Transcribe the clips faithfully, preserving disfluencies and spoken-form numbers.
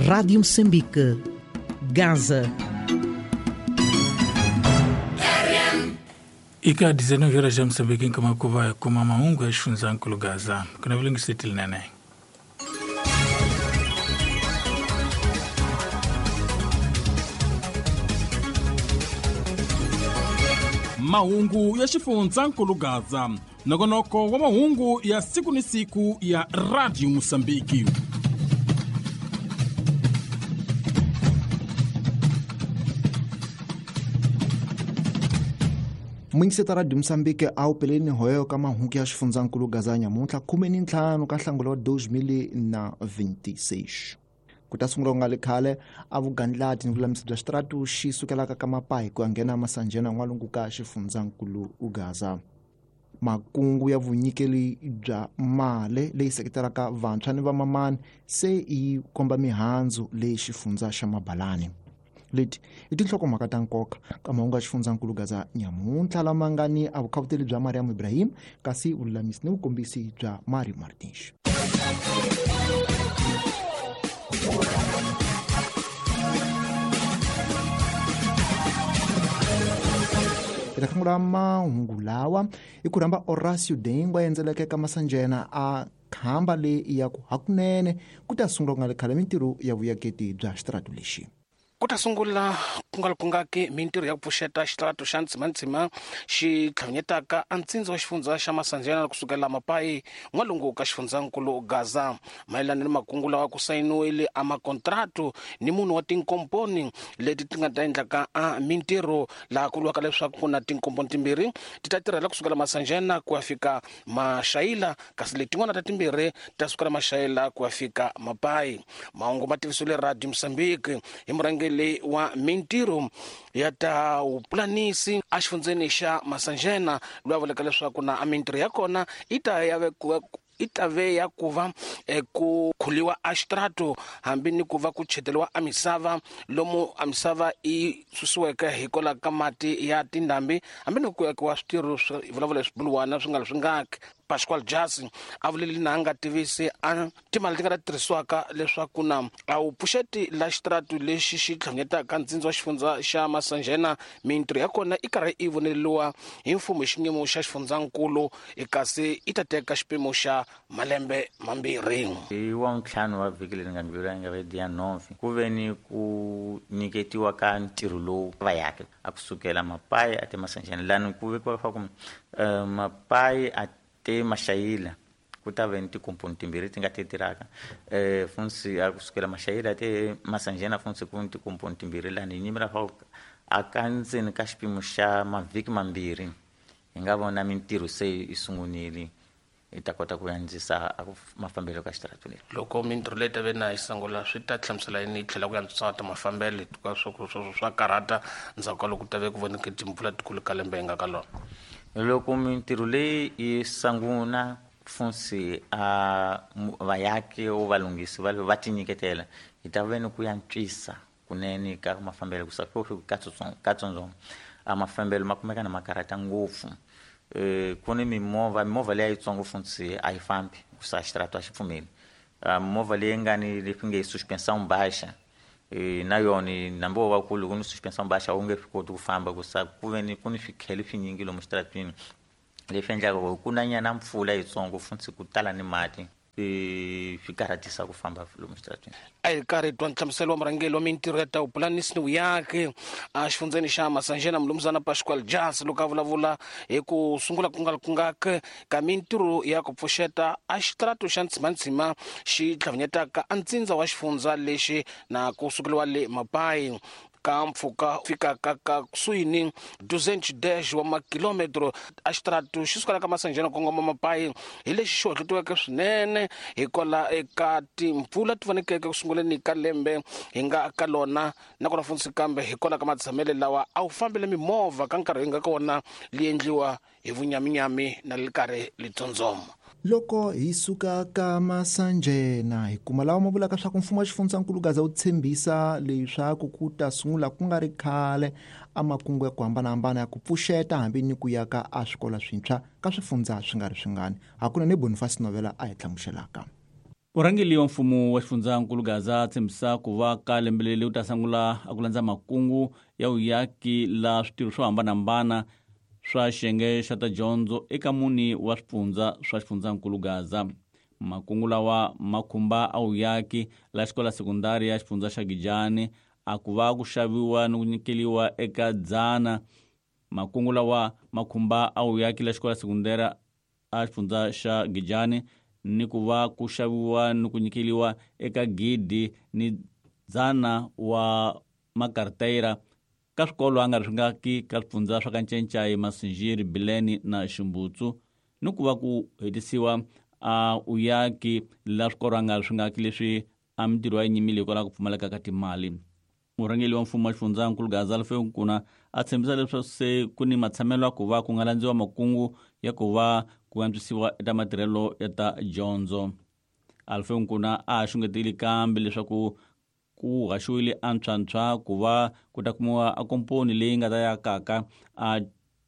Rádio Moçambique, Gaza. Ika dezenove horas já Moçambique em Kamakuva kuma maungu ya xifundzankulu Gaza. Kuna vilingisitili nene. Mahungu ya xifundzankulu Gaza. Nongonoko wa mahungu ya siku ni siku ya Radio Mosambiki. Muingiseta Radio Mosambiki a wu peleni hoyo ka mahungu ya xifundzankulu Gaza nyamuntlha khume ni ntlhanu ka nhlangula wa dois mil na vinte e seis. Ku ta sungula ku nga le khale a vugandlati ni vululamisi bya xitaratu xi sukelaka ka Mapai ku ya nghena Masanjena n'walungu ka xifundzankulu Gaza. Makungu ya vunyikeli bya mali leyi seketelaka vantshwa ni vamamani se yi komba mihandzu leyi xifundza xa Mabalani. Leti i tinhlokomhaka ta nkoka ka mahungu ya xifundzankulu Gaza nyamuntlha lama nga ni a vukhavuteli bya Mariam Ibrahim kasi vululamisi ni vukombisi bya Mario Martins. Eka khangula mahungu lawa i ku rhamba Horacio Dengwa endzeleke ka Masanjena a khamba leyi ya ku hakunene ku ta sungula ku nga le khale mintirho ya vuyaketi bya xitaratu lexi. Ku ta sungula ku nga kungaki mintirho ya ku pfuxeta xitaratu xa Ntsimantsima xi tlhavinyetaka a ntsindza wa xifundza xa Masanjena kusukela Mapai n'walungu ka xifundzankulu Gaza. Mayelana ni makungu lawa ku sayiniwile a makontratu ni munhu wa tinkomponi leti ti nga ta endlaka a mintirho laha ku vuriwaka leswaku ku na tinkomponi timbirhi ti ta tirhela kusukela Masanjena ku ya fika Maxayila, kasi letin'wana ta timbirhi ta sukela Maxayila ku ya fika Mapai. Mahungu ma tivisiwile Radio Mosambiki hi murhangeri le wa mintirho ya ta vupulanisi a xifundzeni xa Masanjena loyi a vulaka leswaku na a mintirho ya kona i ta ya vekiwa i ta ve ya ku va ku khuliwa a xitrato hambi ni ku va ku cheteriwa a misava lomu a misava i susiweke hikwalaho ka mati ya tindhambi hambi ni ku yakiwa switirho swi vulavula swibuluwana swi nga swi ngaki. Pascual Jasi a vuleli na nga tivisi a timali ti nga ta tirhisiwaka leswaku na a wu pfuxeti la xitratu lexi xi tlhanyetaka ntsindza wa xifundza xa Masanjena mintirho ya kona i karhi i voneriwa hi mfumo hi xiyimo xa xifundzankulu kasi i ta teka xipimo xa malembe mambirhi. Hi wa ntlhanu wa vhiki leri nga ndlula nga ve dia nove ku ve ni ku nyiketiwa ka ntirho lowu va yake a kusukela Mapai a te Masanjena lani ku vekiwa leswaku Mapai a te Maxayila ku ta ve ni tikomponi timbirhi ti nga ti tirhaka eh funsi a kusukela Maxayila te Masanjena funsi ku ni tikomponi timbirhi lani hi nyimela fa a ka ndzeni ka xipimo xa mavhiki mambirhi hi nga vona mintirho se yi sungunile i ta kota ku andzisa mafambelo ka xitaratu lexi. Loko mintirho leyi ta ve na yi sungula swi ta hlamusela yini yi tlhela ku antswisa ta mafambelo hikuva swo swo swa karhata ndzhaku ka loko ku ta ve ku voneke timpfula tikulu ka lembe hi nga ka lona. Loko mintirho leyi yi sungula funsi a vayaki o valunghisi va va tinyiketela hi ta ve ni ku antswisa kunene ka mafambelo ku sa ka katsongo a mafambelo ma kumeka na makarata ngopfu. Eh ku ni mimovha mimovha leyi yitsongo funsi a yi fambi ku sa xitaratu a xi pfumeli. Movha leyi nga ni leswi nge suspensão baixa na yona nambi wo va kulu ku ni suspensão baixa wu nge swi koti ku famba ku sa ku ve ni ku ni swikhele swinyingi lomu xitaratwini leswi endlaka ku ku na nyana mpfula yitsongo funtsi ku tala ni mati swi karhatisa ku famba lomu xitaratwini. A hi karhi twa nhlamuselo wa murhangeri wa mintirho ya ta vupulanisi ni vuyaki a xifundzeni xa Masanjena mulumuzana Pascual Jasi loko a vulavula hi ku sungula ku nga kungaki ka mintirho ya ku pfuxeta a xitaratu xa Ntsimantsima xi tlhavinyetaka a ntsindza wa xifundza lexi na ku sukeliwa le Mapai ka mpfhuka fikaka ka kusuhi ni duzentos dez wa makilometro a xitaratu xi sukela ka Masanjena kongoma Mapai hi lexi xi hohlotiweke swinene hikwalaho eka timpfula ti vonekeke ku sunguleni ka lembe hi nga ka lona nakona funtsi kambe hikwalaho ka matshamelo lawa a wu fambile mimovha ka nkarhi hi nga ka wona li endliwa hi vunyaminyami na le karhi litsondzoma. Loko hi suka ka Masanjena hi kuma lawa ma vulaka swa ku mfumo wa xifundzankulu Gaza wu tshembisa leswaku ku ta sungula ku nga ri khale a makungu ya ku hambanahambana ya ku pfuxeta hambi ni ku yaka a swikolo swintshwa ka swifundza swi nga ri swingani. Hakunene Boniface Novela a hi hlamuselaka. Murhangeri wa mfumo wa xifundzankulu Gaza tshembisa ku va ka lembe leri u ta sungula a ku landza makungu ya vuyaki la switirho swo hambanahambana swa xiyenge xa ta dyondzo eka mune wa swifundza swa xifundzankulu Gaza. Makungu lawa ma khumba a vuyaki la xikola sekundari ya xifundza xa Gijani a ku va ku xaviwa ni ku nyikeliwa eka dzana. Makungu lawa ma khumba a vuyaki la xikola sekundari a xifundza xa Gijani ni ku va ku xaviwa ni ku nyikeliwa eka gidi ni dzana wa makarteyira ka swikolo a nga ri swi nga ki ka swifundza swa ka Ncencai, Masinjiri, Bileni na Ximbutsu, ni ku va ku hetisiwa a uyaki la swikolo a nga ri swi nga ki leswi a mintirho ya nyimile hikwalaho ku pfumaleka ka timali. Murhangeri wa mfumo wa xifundzankulu Gaza Alfeo Nkuna a tshembisa leswaku se ku ni matshamelo ya ku va ku nga landziwa makungu ya ku va ku antswisiwa eka matirhelo ya ta dyondzo. Alfeo Nkuna a xungetile kambe leswaku ku haxiwile antshwantshwa ku va ku ta kumiwa a komponi leyi nga ta yakaka a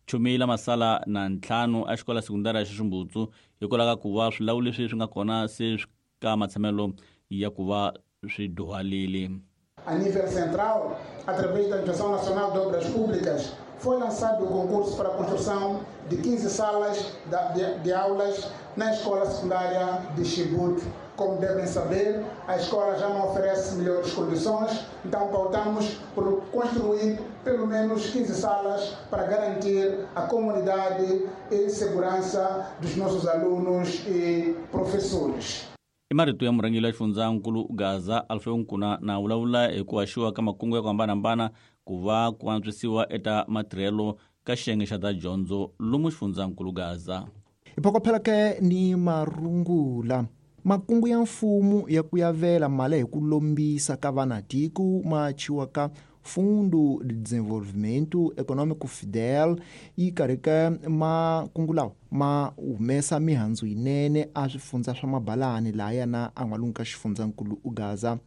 chumile masala na ntlhanu a xikola sekundari ya Ximbutsu hikwalaho ka ku va swilawu leswi swi nga kona se swi ka matshamelo ya ku va swi dyuhalile. A nível central, através da Administração Nacional de Obras Públicas, foi lançado o concurso para a construção de quinze salas de, de aulas na escola secundária de Chibut. Como devem saber, a escola já não oferece melhores condições, então pautamos por construir pelo menos quinze salas para garantir a comunidade e segurança dos nossos alunos e professores. I marito ya murhangeri wa xifundzankulu Gaza Alfeo Nkuna na vulavula hi ku haxiwa ka makungu ya ku hambanahambana ku va ku antswisiwa eka matirhelo ka xiyenge xa ta dyondzo lomu xifundzankulu Gaza. Hi phokophela ke ni marungula. Makungu ya mfumo ya ku yavela mali hi ku lombisa ka vanatiko ma chiwa ka Fundo de Desenvolvimento Econômico Fidel yi karhi ka makungu lawa ma humesa mihandzu yinene a swifundza swa mabalani laha na a n'walungu ka xifundzankulu Gaza.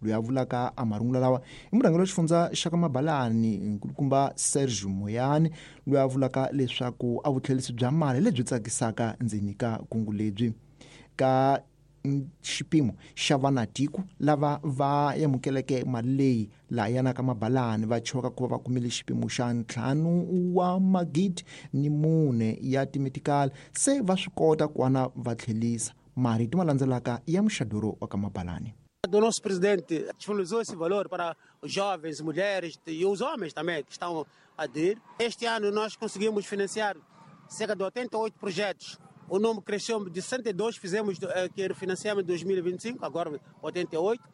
Loyi a vulaka a marungula lawa i murhangeri wa xifundza xa ka mabalani nkulukumba Sergio Moyani, loyi a vulaka leswaku a vutlhelisi bya mali lebyi tsakisaka ndzeni ka kungu lebyi ka xipimo xa vanatiko lava va amukeleke mali leyi laha ka mabalani va choka ku va va kumile xipimo xa ntlhanu wa magidi ni mune ya timetikali se va swi kota ku ana va tlhelisa. Marito ma landzelaka ya muxadoro wa ka mabalani. Do nosso presidente disponibilizou esse valor para os jovens, mulheres e os homens também que estão a aderir. Este ano nós conseguimos financiar cerca de oitenta e oito projetos. O número cresceu de sessenta e dois, fizemos que financiamos em dois mil e vinte e cinco, agora oitenta e oito.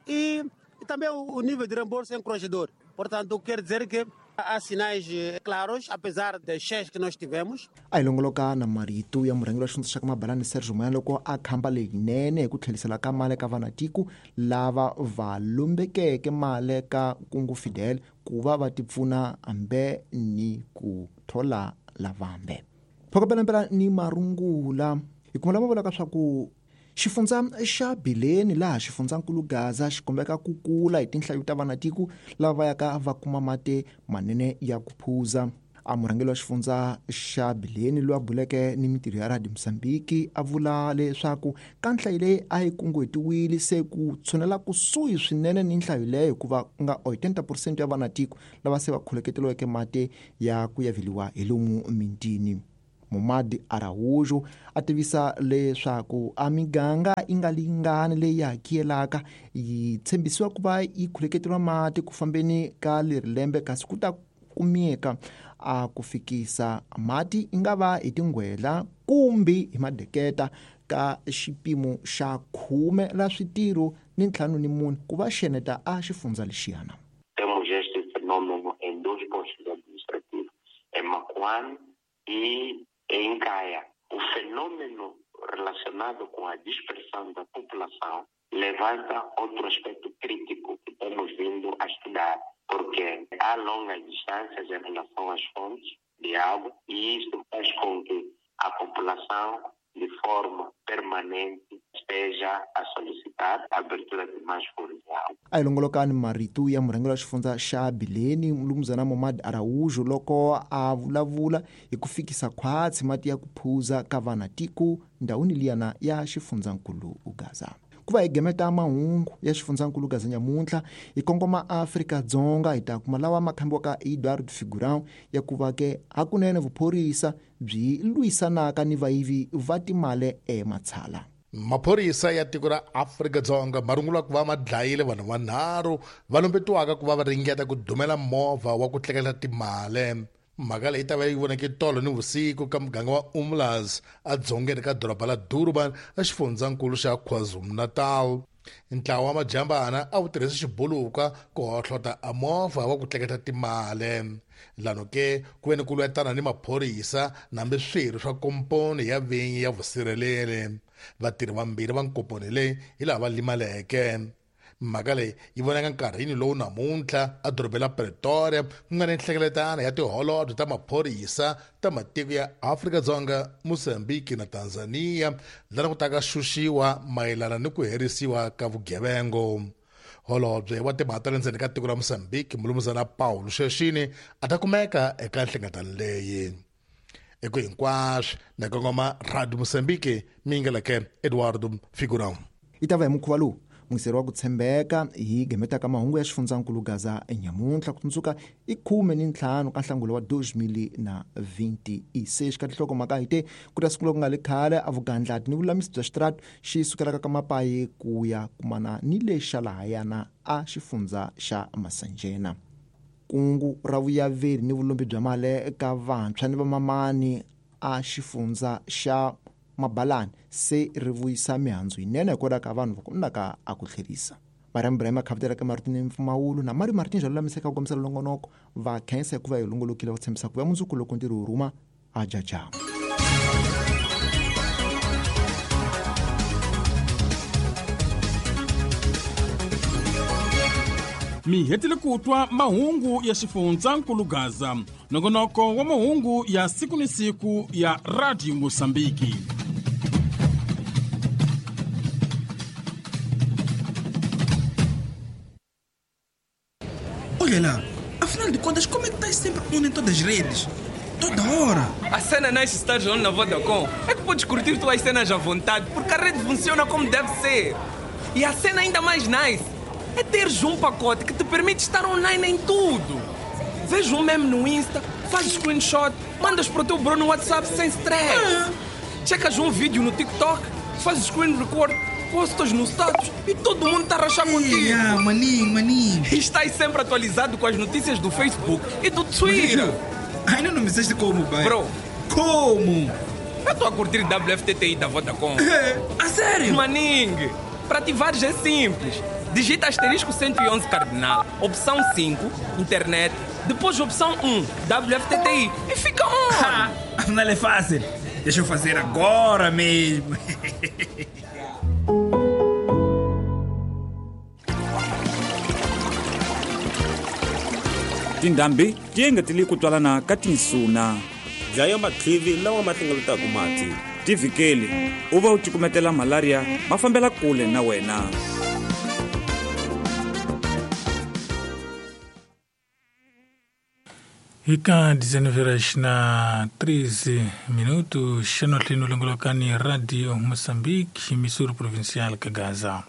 E, e também o, o nível de reembolso é encorajador. Portanto, quer dizer que há sinais claros, apesar das cheias que nós tivemos. A hi longoloka na marito ya murhangeri wa xifundza xa ka mabalani Sergio Moyani loko a khamba leyinene hi ku tlhelisela ka mali ka vanatiko lava va lombekeke mali ka kungu Fidel ku va va tipfuna hambe ni ku thola lavambe. Phokopelempela ni marungula hi kuma lama vulaka swa ku xifundza xa Bileni laha xifundzankulu Gaza xi kombeka ku kula hi tinhlayo ta vanatiko lava va yaka va kuma mati manene ya ku phuza. A murhangeri wa xifundza xa Bileni loyi a buleke ni mintirho ya Radio Mozambique a vula leswaku ka nhlayo leyi a yi kunguhetiwile se ku tshunela kusuhi swinene ni nhlayo leyo hikuva ku nga eighty percent ya vanatiko lava se va kholeketeriweke mati ya ku yaveliwa hi lomu mintini. Momadi Araújo a tivisa leswaku a miganga yi nga lingani leyi hakiyelaka yi tshembisiwa ku va yi khuleketeriwa mati ku fambeni ka leri lembe kasi ku ta kumeka a ku fikisa mati yi nga va hi tinghwela kumbe hi madeketa ka xipimo xa khume la switirho ni ntlhanu ni mune ku va xeneta a xifundza lexiyana. Temos este fenômeno em dois postos administrativos, em Macuane e em Caia. O fenômeno relacionado com a dispersão da população levanta outro aspecto crítico que temos vindo a estudar, porque há longas distâncias em relação às fontes de água e isso faz com que a população, de forma permanente, esteja a solicitar a abertura de mais furos de água. A hi longolokani marito ya murhangeri wa xifundza xa Bileni Mlumzana Momad Araújo loko a vulavula hi ku fikisa khwatsi mati ya ku phuza ka vanatiko ndhawini liyana ya xifundzankulu Gaza. Ku va hi gemeta mahungu ya xifundzankulu Gaza nyamuntlha hi kongoma Afrika-Dzonga hi ta kuma lawa ma khambiwaka Eduardo Figurão ya ku va ke hakunene vuphorisa byi lwisanaka ni vayivi va timali ematshala. Maphorisa ya tiko ra Afrika-Dzonga ma rungula ku va ma dlayile vanhu vanharhu va lumbetiwaka ku va va ringeta ku dumela movha wa ku tleketla timali. Mhaka leyi ta va yi voneke tolo ni vusiku ka muganga wa Umlazi edzongeni ka doroba la Durban exifundzankulu xa KwaZulu-Natal. Ntlawa wa majambana a wu tirhisa xibuluka ku hohlota a movha wa ku tleketla timali. Lano ke ku ve ni ku lwetana ni maphorisa nambe swirho swa komponi ya vinyi ya vusirheleri. Vatirhi vambirhi va nkomponi leyi hi laha va limaleke. Mhaka leyi yi vonaka nkarhini lowu namuntlha edorobeni ra Pretoria ku nga ni nhlengeletano ya tiholobye ta maphorisa ta matiko ya Afrika-Dzonga, Mozambique na Tanzania laha ku taka xuxiwa mayelana ni ku herisiwa ka vugevengo. Holobye wa timhaka ta le ndzeni ka tiko ra Mozambique Mulumuzana Paulo Sheshini a ta kumeka eka nhlengeletano leyi. Eko hinkwaswo na kongoma Radio Mozambique mingeleke Eduardo Figurão. Yi ta va hi mukhuva lowu mungiseri wa ku tshembeka hi gemetaka mahungu ya xifundzankulu Gaza nyamuntlha ku tsundzuka i khume ni ntlhanu ka nhlangula wa dois mil na vinte e seis. Ka tinhlokomhaka hi te ku ta sungula ku nga le khale a vugandlati ni vulamisi bya xitratu xi sukelaka ka mapayi ku ya kumana ni le xa lahayana a xifundza xa Masanjena. Kungu ra vuyaveri ni vulombi bya mali ka vantshwa ni vamamani a xifundza xa Mabalani se ri vuyisa mihandzu yinene hikwalaho ka vanhu va kumaka a ku tlherisa. Mariam Ibrahim khavutela ka Martin Mfumawulu na Mari Martin Jalo lamiseka ku kombisa longonoko va khensa hikuva hi longolokile va tshembisa ku va mundzuku loko ntirho wu rhuma a jaja. Mi hetile ku twa mahungu ya xifundzankulu Gaza, nongonoko wa mahungu ya siku ni siku ya Radio Mozambique. Olha lá, afinal de contas, como é que estás sempre on em todas as redes? Toda hora! A cena nice estar on na Vodacom é que podes curtir tuas cenas à vontade, porque a rede funciona como deve ser. E a cena ainda mais nice é teres um pacote que te permite estar online em tudo. Vês um meme no Insta, fazes screenshot, mandas para o teu bro no WhatsApp sem stress. Ah. Checas um vídeo no TikTok, fazes screen record, postas no status e todo mundo está a rachar contigo. Ah, maninho, maninho. E estás sempre atualizado com as notícias do Facebook e do Twitter. Ainda não me disseste como, pai. Bro. Como? Eu estou a curtir W F T T I da Vodacom. A sério? Maninho, para ativares é simples. Digita asterisco cento e onze cardinal, opção cinco, internet, depois opção um, W F T T I e fica on! Afinal é fácil. Deixa eu fazer agora mesmo. Tindhambi ti engetele ku twalana ka tinsuna. Dlaya matlivi lawa ma hlengeletaka mati. Tivhikeli u va u cukumetela malaria ma fambela kule na wena. Ika dezenove horas na treze minutos, xanohlino longolokani Radio Moçambique, emissora provincial ka Gaza.